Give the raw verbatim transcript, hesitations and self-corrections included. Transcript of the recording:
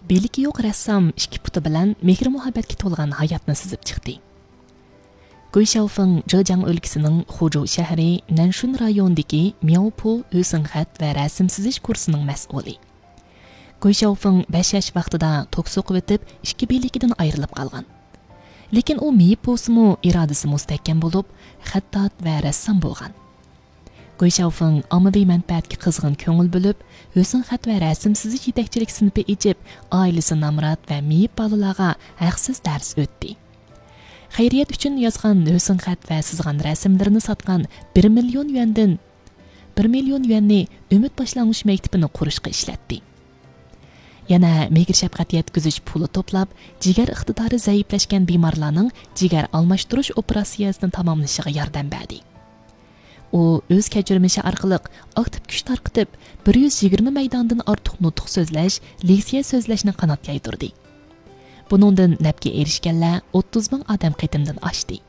بىلىكى يوق رەسسام ئىككى پۇتى بىلەن مېھىر-مۇھەببەتكە تولغان ھاياتنى سىزىپ چىقتى. گۇي شياۋفېڭ جېجياڭ ئۆلكىسىنىڭ خۇجۇ شەھىرى نەنشۈن رايونىدىكى مياۋپۇ ھۆسنخەت ۋە رەسىم سىزىش كۇرسىنىڭ مەسئۇلى. گۇي شياۋفېڭ بەش ياش ۋاقتىدا توك سوقۇۋېتىپ، ئىككى بىلىكىدىن ئايرىلىپ قالغان. لېكىن ئۇ مېيىپ بولسىمۇ، ئىرادىسى مۇستەھكەم بولۇپ، خەتتات ۋە رەسسام بولغان. گۇي شياۋفېڭ ئاممىۋى مەنپەئەتكە قىزغىن كۆڭۈل بۆلۈپ، ھۆسنخەت ۋە رەسىم سىزىش يېتەكچىلىك سىنىپى ئېچىپ، ئائىلىسى نامرات ۋە مېيىپ بالىلارغا ھەقسىز دەرس ئۆتتى. خەيرىيەت ئۈچۈن يازغان ھۆسنخەت ۋە سىزغان رەسىملىرىنى ساتقان بىر مىليون يۈەندىن، بىر مىليون يۈەننى ئۈمىد باشلانغۇچ مەكتىپىنى قۇرۇشقا ئىشلەتتى. يەنە مېھىر-شەپقەت يەتكۈزۈش پۇلى توپلاپ، جىگەر ئىقتىدارى زەئىپلەشكەن بىمارلارنىڭ جىگەر ئالماشتۇرۇش ئوپېراتسىيەسىنى تاماملىشىغا ياردەم بەردى. ئۇ ئۆز كەچۈرمىشى ئارقىلىق ئاكتىپ كۈچ تارقىتىپ، بىر يۈز يىگىرمە مەيداندىن ئارتۇق نۇتۇق سۆزلەش، لېكسىيە سۆزلەشنى قانات يايدۇردى. بۇنىڭدىن نەپكە ئېرىشكەنلەر ئوتتۇز مىڭ ئادەم قېتىمدىن ئاشتى.